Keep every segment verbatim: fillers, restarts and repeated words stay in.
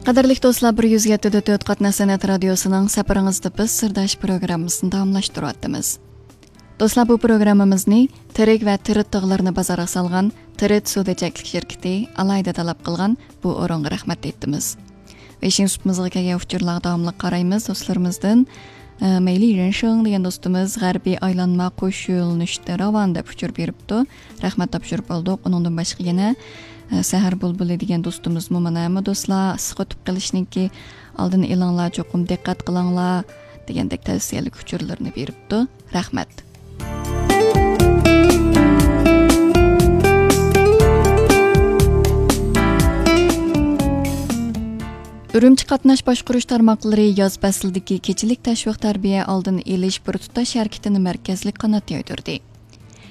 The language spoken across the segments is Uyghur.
قەدىرلىك دوستلار، بىر يۈز يەتتە دۆت قاتناش سەنئەت رادىيوسىنىڭ سەپىرىڭىزدە بىز سىرداش پروگراممىسىنى داۋاملاشتۇرۇۋاتىمىز. دوستلار، بۇ پروگراممىمىزنى تىرىك ۋە تىرىت تىغلىرىنى بازارغا سالغان تىرىت سودا چەكلىك شىركىتى ئالاھىدە تەلەپ قىلغان بۇ ئورۇنغا رەھمەت ئېيتىمىز. ۋە ئىشىڭ سۇپىمىزغا كەلگەن ئۇچۇرلارغا داۋاملىق قارايمىز. دوستلىرىمىزدىن، ئە، مەيلى رېنشىڭ دېگەن دوستىمىز غەربىي ئايلانما قوش يۆنىلىشتە راۋان دەپ ئۇچۇر بېرىپتۇ. رەھمەت تاپشۇرۇپ ئالدۇق. ئۇنىڭدىن باشقا يەنە، ئە، سەھەر بۇلبۇلى دېگەن دوستىمىزمۇ مانا ھەممە دوستلار ئىسسىق ئۆتۈپ قېلىشنىڭكى ئالدىنى ئېلىڭلار، چوقۇم دىققەت قىلىڭلار دېگەندەك تەۋسىيەلىك ئۇچۇرلىرىنى بېرىپتۇ. رەھمەت. ئۈرۈمچى قاتناش باشقۇرۇش تارماقلىرى ياز پەسلىدىكى كېچىلىك تەشۋىق تەربىيە ئالدىنى ئېلىش بىر تۇتاش ھەرىكىتىنى مەركەزلىك قانات يايدۇردى.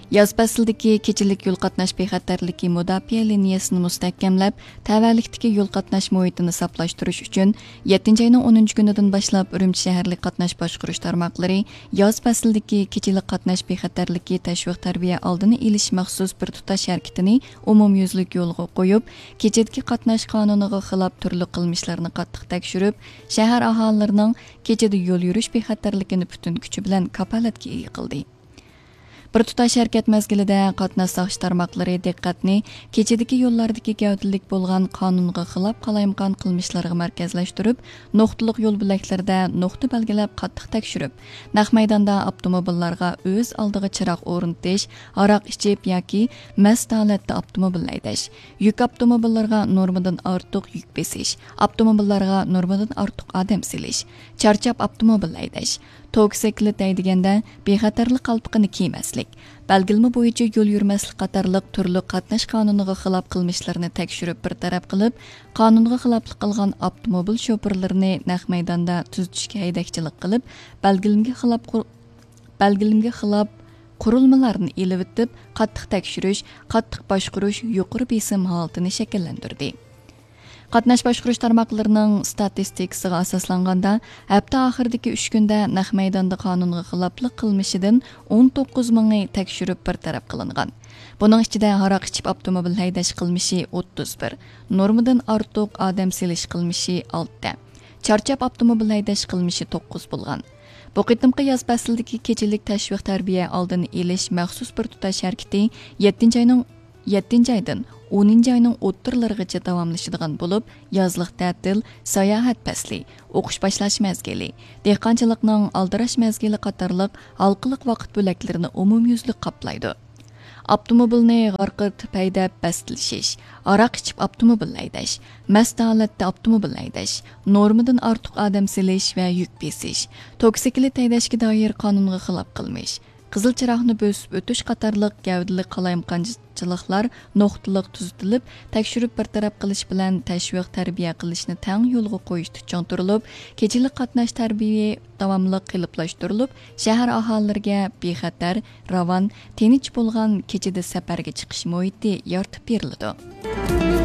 ياز پەسلىدىكى كېچىلىك يول قاتناش بىخەتەرلىكى مۇداپىئە لىنىيەسىنى مۇستەھكەملەپ، تەۋەلىكتىكى يول قاتناش مۇھىتىنى ساپلاشتۇرۇش ئۈچۈن، يەتتىنچى ئاينىڭ ئونىنچى كۈنىدىن باشلاپ ئۈرۈمچى شەھەرلىك قاتناش باشقۇرۇش تارماقلىرى ياز پەسلىدىكى كېچىلىك قاتناش بىخەتەرلىكى تەشۋىق تەربىيە ئالدىنى ئېلىش مەخسۇس بىر تۇتاش ھەرىكىتىنى ئومۇميۈزلۈك يولغا قويۇپ، كېچىدىكى قاتناش قانۇنىغا خىلاپ تۈرلۈك قىلمىشلارنى قاتتىق تەكشۈرۈپ، شەھەر ئاھالىلىرىنىڭ كېچىدە يول يۈرۈش بىخەتەرلىكىنى پۈتۈن كۈچى بىلەن كاپالەتكە ئىگە قىلدى. بىر تۇتاش ھەرىكەت مەزگىلىدە قاتناش ساقچى تارماقلىرى دىققەتنى كېچىدىكى يوللاردىكى گەۋدىلىك بولغان قانۇنغا خىلاپ قالايمىقان قىلمىشلارغا مەركەزلەشتۈرۈپ، نۇقتىلىق يول بۆلەكلىرىدە نۇقتا بەلگىلەپ قاتتىق تەكشۈرۈپ، نەق مەيداندا ئاپتوموبىللارغا ئۆز ئالدىغا چىراغ ئورنىتىش، ھاراق ئىچىپ ياكى مەست ھالەتتە ئاپتوموبىل ھەيدەش، يۈك ئاپتوموبىللىرىغا نورمىدىن ئارتۇق يۈك بېسىش، ئاپتوموبىللارغا نورمىدىن ئارتۇق ئادەم سېلىش، چارچاپ ئاپتوموبىل ھەيدەش، توكسىكلىت ھەيدىگەندە بىخەتەرلىك قالپىقىنى كىيمەسلىك، بەلگىلىمە بويىچە يول يۈرمەسلىك قاتارلىق تۈرلۈك قاتناش قانۇنىغا خىلاپ قىلمىشلىرىنى تەكشۈرۈپ بىر تەرەپ قىلىپ، قانۇنغا خىلاپلىق قىلغان ئاپتوموبىل شوپۇرلىرىنى نەق مەيداندا تۈزىتىشكە ھەيدەكچىلىك قىلىپ، بەلگىلىمىگە خىلاپ قۇر-، بەلگىلىمىگە خىلاپ قۇرۇلمىلارنى ئېلىۋېتىپ، قاتتىق تەكشۈرۈش، قاتتىق باشقۇرۇش يۇقىرى بېسىم ھالىتىنى شەكىللەندۈردى. قاتناش باشقۇرۇش تارماقلىرىنىڭ ستاتىستىكىسىغا ئاساسلانغاندا، ھەپتە ئاخىرىدىكى ئۈچ كۈندە نەق مەيداندا قانۇنغا خىلاپلىق قىلمىشىدىن ئون توققۇز مىڭى تەكشۈرۈپ بىر تەرەپ قىلىنغان. بۇنىڭ ئىچىدە ھاراق ئىچىپ ئاپتوموبىل ھەيدەش قىلمىشى ئوتتۇز بىر، نورمىدىن ئارتۇق ئادەم سېلىش قىلمىشى ئالتە، چارچاپ ئاپتوموبىل ھەيدەش قىلمىشى توققۇز بولغان. بۇ قېتىمقى ياز پەسلىدىكى كېچىلىك تەشۋىق تەربىيە ئالدىنى ئېلىش مەخسۇس بىر تۇتاش ھەرىكىتى يەتتىنچى ئاينىڭ يەتتىنچى ئايدىن ئونىنچى ئاينىڭ ئوتتۇرىلىرىغىچە داۋاملىشىدىغان بولۇپ، يازلىق تەتىل، ساياھەت پەسلى، ئوقۇش باشلاش مەزگىلى، دېھقانچىلىقنىڭ ئالدىراش مەزگىلى قاتارلىق ھالقىلىق ۋاقىت بۆلەكلىرىنى ئومۇميۈزلۈك قاپلايدۇ. ئاپتوموبىلنى غارقىرىتىپ ھەيدەپ بەستلىشىش، ھاراق ئىچىپ ئاپتوموبىل ھەيدەش، مەست ھالەتتە ئاپتوموبىل ھەيدەش، نورمىدىن ئارتۇق ئادەم سېلىش ۋە يۈك بېسىش، توكسىكلىت ھەيدەشكە دائىر قانۇنغا خىلاپ قىلمىش، قىزىل چىراغنى بۆسۈپ ئۆتۈش قاتارلىق گەۋدىلىك قالايمىقانچىلىقلار نۇقتىلىق تۈزىتىلىپ، تەكشۈرۈپ بىر تەرەپ قىلىش بىلەن تەشۋىق تەربىيە قىلىشنى تەڭ يولغا قويۇشتا چىڭ تۇرۇلۇپ، كېچىلىك قاتناش تەربىيە داۋاملىق قېلىپلاشتۇرۇلۇپ، شەھەر ئاھالىلىرىگە بىخەتەر، راۋان، تىنچ بولغان كېچىدە سەپەرگە چىقىش مۇھىتى يارىتىپ بېرىلىدۇ.